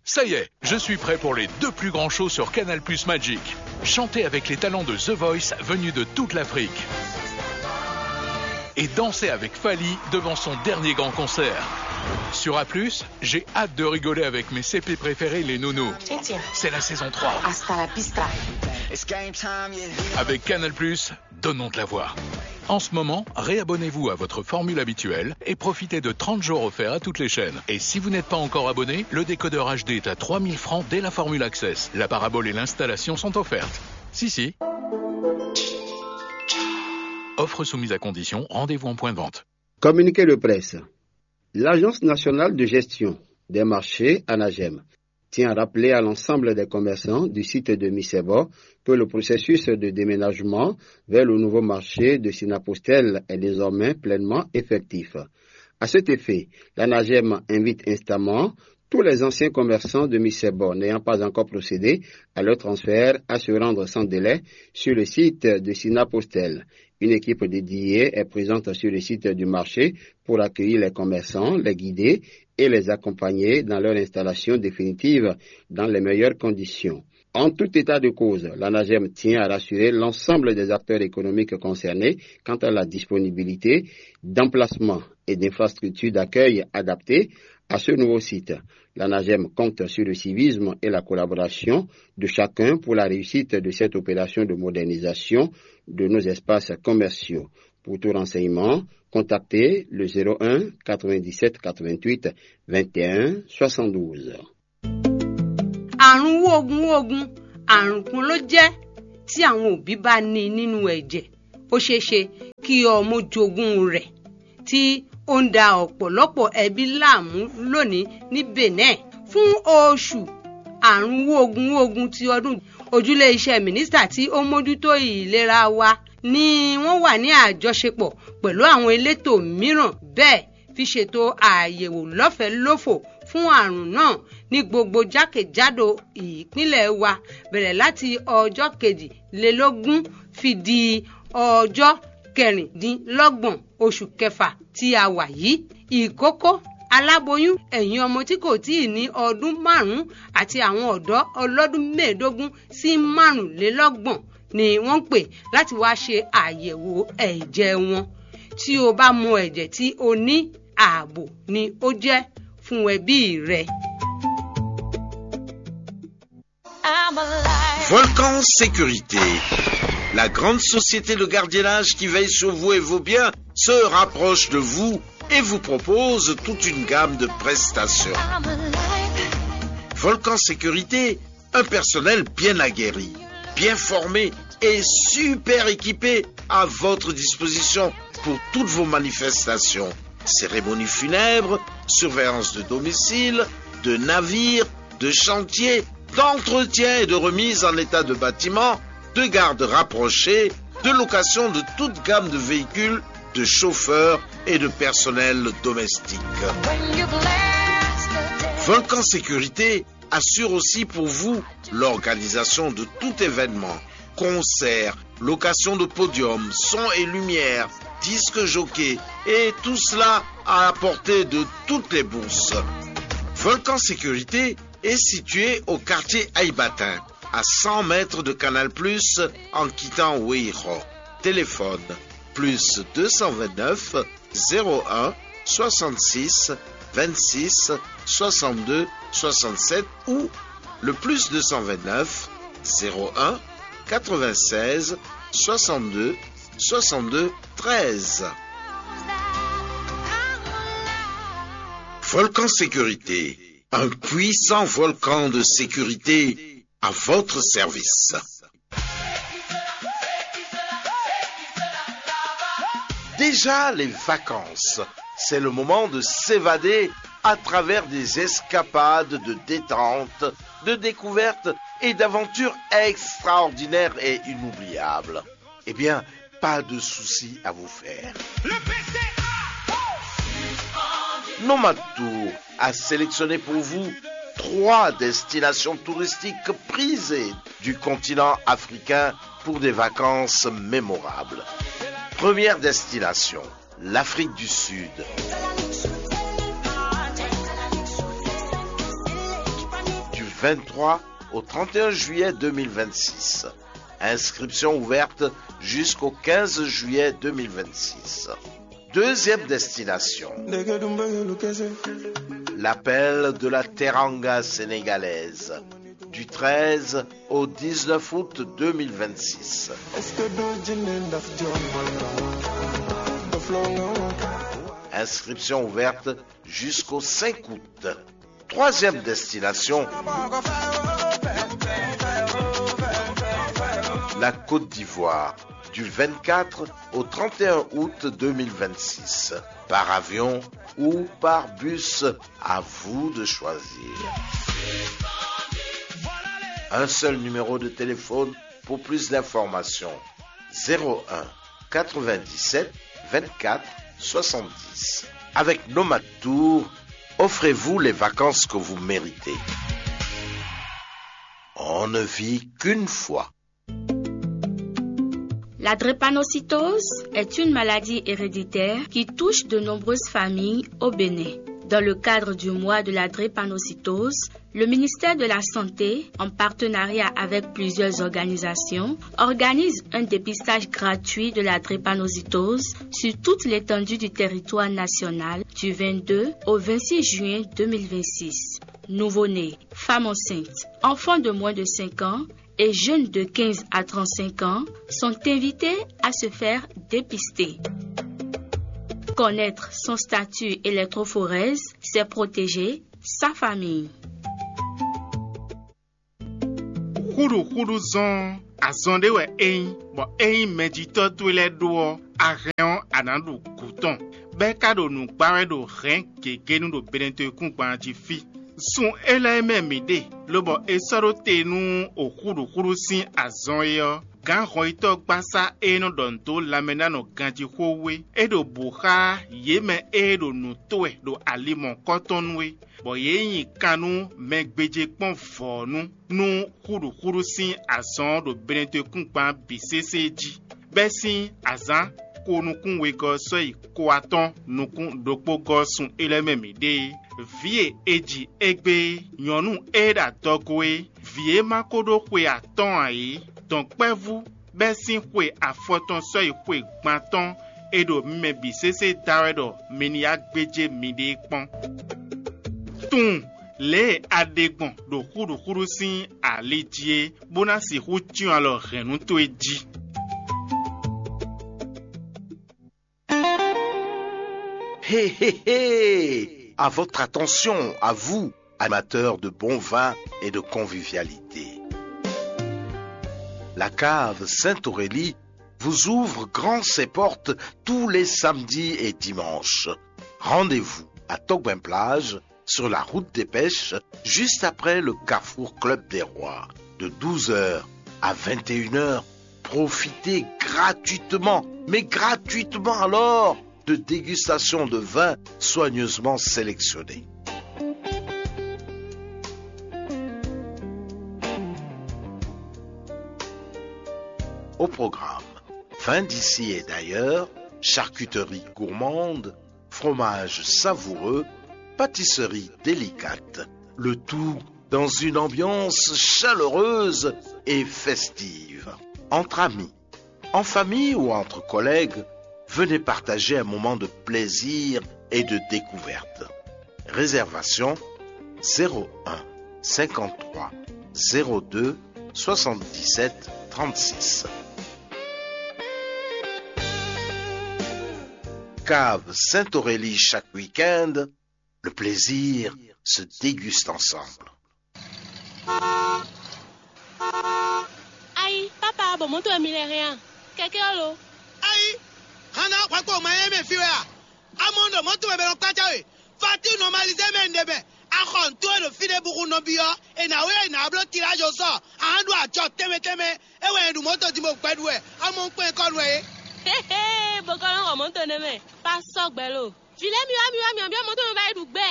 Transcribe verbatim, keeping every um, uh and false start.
Ça y est, je suis prêt pour les deux plus grands shows sur Canal Plus Magic. Chantez avec les talents de The Voice venus de toute l'Afrique. Et dansez avec Fally devant son dernier grand concert. Sur A plus, j'ai hâte de rigoler avec mes C P préférés, les Nounous. C'est la saison trois. Hasta la vista. Avec Canal Plus, donnons de la voix. En ce moment, réabonnez-vous à votre formule habituelle et profitez de trente jours offerts à toutes les chaînes. Et si vous n'êtes pas encore abonné, le décodeur H D est à trois mille francs dès la formule Access. La parabole et l'installation sont offertes. Si, si. Offre soumise à condition, rendez-vous en point de vente. Communiqué de presse. L'Agence nationale de gestion des marchés, ANAGEM, tient à rappeler à l'ensemble des commerçants du site de Misebo que le processus de déménagement vers le nouveau marché de Sinapostel est désormais pleinement effectif. À cet effet, l'ANAGEM invite instamment tous les anciens commerçants de Misebo n'ayant pas encore procédé à leur transfert à se rendre sans délai sur le site de Sinapostel. Une équipe dédiée est présente sur le site du marché pour accueillir les commerçants, les guider et les accompagner dans leur installation définitive dans les meilleures conditions. En tout état de cause, l'ANAGEM tient à rassurer l'ensemble des acteurs économiques concernés quant à la disponibilité d'emplacements et d'infrastructures d'accueil adaptées à ce nouveau site. L'ANAGEM compte sur le civisme et la collaboration de chacun pour la réussite de cette opération de modernisation de nos espaces commerciaux. Pour tout renseignement, contactez le zéro un quatre-vingt-dix-sept quatre-vingt-huit vingt et un soixante-douze. Àrùn wógún wógún, àrùn kan ló jẹ́ tí àwọn òbí bá ní nínú ẹ̀jẹ̀. Ó ṣeé ṣe kí ọmọ jogún rẹ̀ tí ó ń da ọ̀pọ̀lọpọ̀ ẹbí láàmú lónìí ní Benin. Fún oṣù àrùn wógún wógún ti ọdún, ojúlé iṣẹ́ mínísítà tí ó mójútó ìlera wa ni wọ́n wà ní àjọṣepọ̀ pẹ̀lú àwọn elétò mìíràn bẹ́ẹ̀ fi ṣètò àyẹ̀wò lọ́fẹ̀ẹ́ lófò fún àrùn náà ní gbogbo jákèjádò ìpínlẹ̀ wa, bẹ̀rẹ̀ láti ọjọ́ kejìlélógún fi di ọjọ́ kẹrìndínlọ́gbọ̀n oṣù kẹfà tí a wà yìí. Ìkókó, aláboyún, ẹ̀yin ọmọ tí kò tíì ní ọdún márùn-ún àti àwọn ọ̀dọ́ ọlọ́dún mẹ́ẹ̀ẹ́dógún sí márùnlélọ́gbọ̀n ni wọ́n ń pè láti wá ṣe àyẹ̀wò ẹ̀jẹ̀ wọn. Tí o bá mọ ẹ̀jẹ̀ tí o ní, ààbò ni ó jẹ́ fún ẹbí rẹ. Volcan Sécurité, la grande société de gardiennage qui veille sur vous et vos biens, se rapproche de vous et vous propose toute une gamme de prestations. Volcan Sécurité, un personnel bien aguerri, bien formé et super équipé à votre disposition pour toutes vos manifestations. Cérémonie funèbre, surveillance de domicile, de navire, de chantier, d'entretien et de remise en état de bâtiments, de garde rapprochée, de location de toute gamme de véhicules, de chauffeurs et de personnel domestique. Volcan Sécurité assure aussi pour vous l'organisation de tout événement, concert, location de podium, son et lumière, disque jockey, et tout cela à la portée de toutes les bourses. Volcan Sécurité est situé au quartier Aïbatin, à cent mètres de Canal Plus en quittant Weiro. Téléphone plus deux cent vingt-neuf zéro un soixante-six vingt-six soixante-deux soixante-sept ou le plus deux cent vingt-neuf zéro un quatre-vingt-seize soixante-deux soixante-deux treize. Volcan Sécurité, un puissant volcan de sécurité à votre service. Déjà les vacances, c'est le moment de s'évader à travers des escapades de détente, de découvertes et d'aventures extraordinaires et inoubliables. Eh bien, pas de souci à vous faire. Nomad Tour a sélectionné pour vous trois destinations touristiques prisées du continent africain pour des vacances mémorables. Première destination, l'Afrique du Sud. vingt-trois au trente et un juillet deux mille vingt-six. Inscription ouverte jusqu'au quinze juillet deux mille vingt-six. Deuxième destination, l'appel de la Teranga sénégalaise, du treize au dix-neuf août deux mille vingt-six. Inscription ouverte jusqu'au cinq août. Troisième destination, la Côte d'Ivoire, du vingt-quatre au trente et un août deux mille vingt-six, par avion ou par bus. À vous de choisir. Un seul numéro de téléphone pour plus d'informations. Zéro un quatre-vingt-dix-sept vingt-quatre soixante-dix. Avec Nomad Tour, offrez-vous les vacances que vous méritez. On ne vit qu'une fois. La drépanocytose est une maladie héréditaire qui touche de nombreuses familles au Bénin. Dans le cadre du mois de la drépanocytose, le ministère de la Santé, en partenariat avec plusieurs organisations, organise un dépistage gratuit de la drépanocytose sur toute l'étendue du territoire national du vingt-deux au vingt-six juin deux mille vingt-six. Nouveau-nés, femmes enceintes, enfants de moins de cinq ans et jeunes de quinze à trente-cinq ans sont invités à se faire dépister. Connaître son statut électrophorèse, c'est protéger sa famille. Xúɖuxúɖu zɔn azɔn ɖé wɛ é nyí, bɔ ényí mɛjitɔ́ towe lɛ́ɛ ɖó ɔ́, a hɛn ɔ́, a nǎ ɖu gǔ tɔn, bɔ é ka ɖo nǔ gbá wɛ ɖo hɛ̌n gěgé nu ɖo benɛtɔ́yíkúngban jí fí. Sun élɔ́ e mɛ mǐ ɖe, lobɔ è sɔ́ ɖó te nú oxúɖuxúɖu sín azɔn é ɔ́, gǎn hɔnyitɔ́gbasá e nɔ ɖɔ nǔ dó lanmɛ ná nɔ ganjí xó wú é, é ɖo bǔ xá yě mɛ e ɖo nǔ to wɛ ɖo ali mɔ̌kɔtɔn nu é, bɔ yě nyi kan nú mɛ gbéjé kpɔ́n vɔ̌nu nú xúɖuxúɖu sín azɔn ɔ́ ɖo benɛtɔ́yíkúngban bǐ sésé jí. Bɛ́ sín azǎn ko nukún wegɔ́ ɔ́ sɔ́ yi ko atɔ́ɔ́n nukún ɖokpó gɔ́ sun élɔ́ mɛ mǐ ɖe é. Vǐ e è ji égbé é, nyɔ̌nu e ɖo adɔgo é, vǐ e ma ko ɖó xwe atɔ́ɔ́n ǎ é, dɔ̌nkpɛvú bɛ́ sín xwe afɔtɔn sɔ́ yi xwe gban tɔn e ɖo mi mɛ bǐ sésé da wɛ ɖɔ mi ní yá gbéjé miɖée kpɔ́n. Tunwun lě e a ɖe gbɔn ɖo xúɖuxúɖu sín ali jí é, bó ná sixú cyɔ́n alɔ hɛ̌nnu towe jí. Hé, hé, hé! À votre attention, à vous, amateurs de bon vin et de convivialité. La cave Sainte-Aurélie vous ouvre grand ses portes tous les samedis et dimanches. Rendez-vous à Togben Plage, sur la route des pêches, juste après le carrefour Club des Rois, de douze heures à vingt et une heures. Profitez gratuitement, mais gratuitement alors, de dégustations de vins soigneusement sélectionnés. Au programme, vins d'ici et d'ailleurs, charcuterie gourmande, fromage savoureux, pâtisserie délicate, le tout dans une ambiance chaleureuse et festive. Entre amis, en famille ou entre collègues, venez partager un moment de plaisir et de découverte. Réservation zéro un cinquante-trois zéro deux soixante-dix-sept trente-six. Cave Sainte-Aurélie chaque week-end, le plaisir se déguste ensemble. Ayi, papa, bɔ mɔ̌to wɛ mi lɛ hɛn a? Kɛkɛ ɔ́ lo? Ayi, hana hwɛkpo ma nyɛ mɛ fi wɛ a? Amɔ ɖo mɔ̌to wɛ mɛ nɔ kpácá we. Fati nɔmalizé mɛ ɖe mɛ. Axɔ ntó e ɖo fí ɖé buxu nɔbí ɔ́, è nǎ wé è nǎ bló tilázo sɔ. Ahan ɖo ajɔ tɛnmɛ tɛnmɛ. É wɛ è ɖu mɔ̌to din bó gbɛɖu wɛ. Amɔ un kpɛn kɔ nu wɛ é. Hehe, bó kɔ nɔ xɔ mɔ̌to nɛ́ mɛ. Pa sɔ́ gbɛ lo. Vǐ lɛ́ɛ mi wá mi wá mi byɔ́ mɔ̌to mɛ ba yi ɖu gbɛ.